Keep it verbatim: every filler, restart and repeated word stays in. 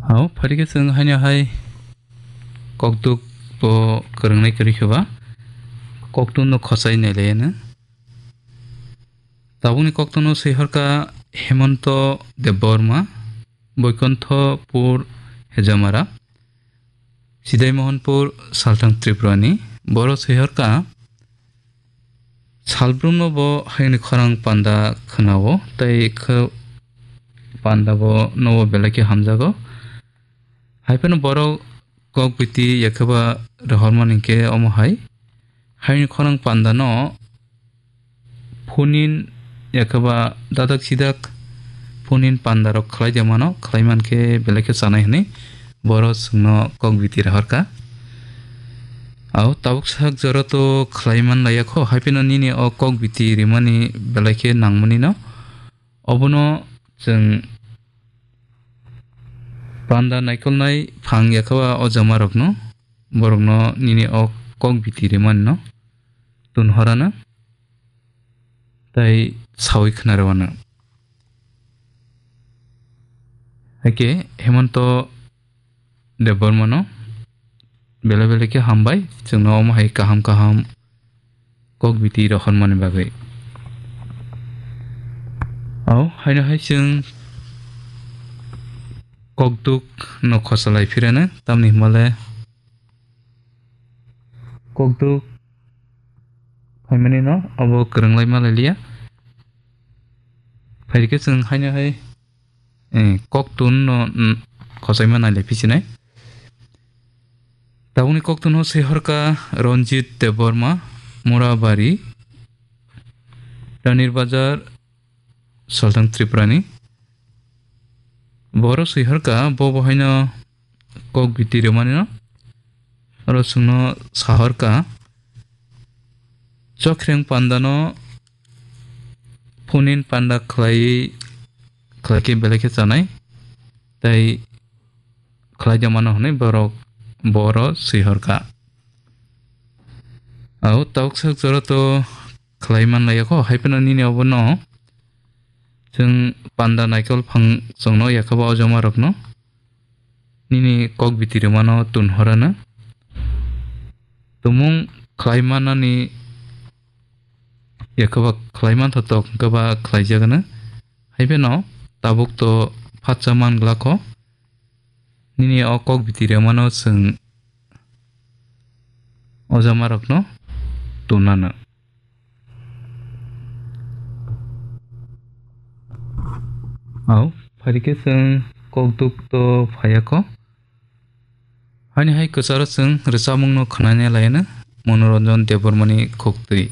Au, phaikhe chwng haino hai kokduk bo kwrwngnai kwrwi khe ba koktun no khosai nai lai ano. Tabukni koktun no swi horka Hemonto Debbarma, Boikonthopur Hejamara, Sidai Mohanpur, Salthang Tripurani. Boro swi horka salbrumno bo hayungni khorang panda khwnao, tei khe panda bo nobo belai khe hamjago. Hai phano borok kok biti yakhaba rohormani khe omo hai. Hayungni khorang pandano phunin yakhaba dadak sidak phunin pandarok khlai de mano, khlai man khe belai khe chanai hwnwi boro chwngno kok biti rohorka. Au tabuk sak jora to khlai man laiya kho, hai phano nini o kok biti rimani belai khe nangmani no. Obono chwng panda naikolnai phang yakhaba o jamarokno, borokno nini o kok biti rimani no tun horano tei sawi khna rwano. Haikhe Hemonto Debbarmano belai belai khe hambai, chwngno omo hai kaham kaham kok biti rohormani bagwi. Au, haino hai chwng kokduk no khosalai phirano, tamni hwnba le kokduk phaimani no abo kwrwnglai malai liya. Phaikhe chwng haino hai, eh, koktun no, mm, khosaima nai lai phisinai. Tabukni koktun no swi horka Ranjit Debbarma, Murabari, Ranir Bazar, Salthang Tripurani. Boro swi horka bo bo haino kok biti rwmani no. Oro chwngno sa horka chokhreng pandano phunin panda khlai, khlai khe belai khe chanai. Tei khlai de mano hwnwi borok boro swi horka. Au tabuk sak jora to khlai man laiya kho, hai phano nini obono chwng panda naikol phang chwngno yakhaba o jamarokno nini kok biti rwmano tun horano. Tumung khlai manani yakhaba khlai man thotok hwnkhe ba khlai jagano. Hai phano tabuk to phatsa man glak kho. Nini o kok biti rwmano chwng o jamarokno tunano. Au, phaikhe chwng kokduk to phaiya kho. Haini hai kwcharo chwng rwchapmungno khwnani laino Manoranjan Debbarmani khuktwi.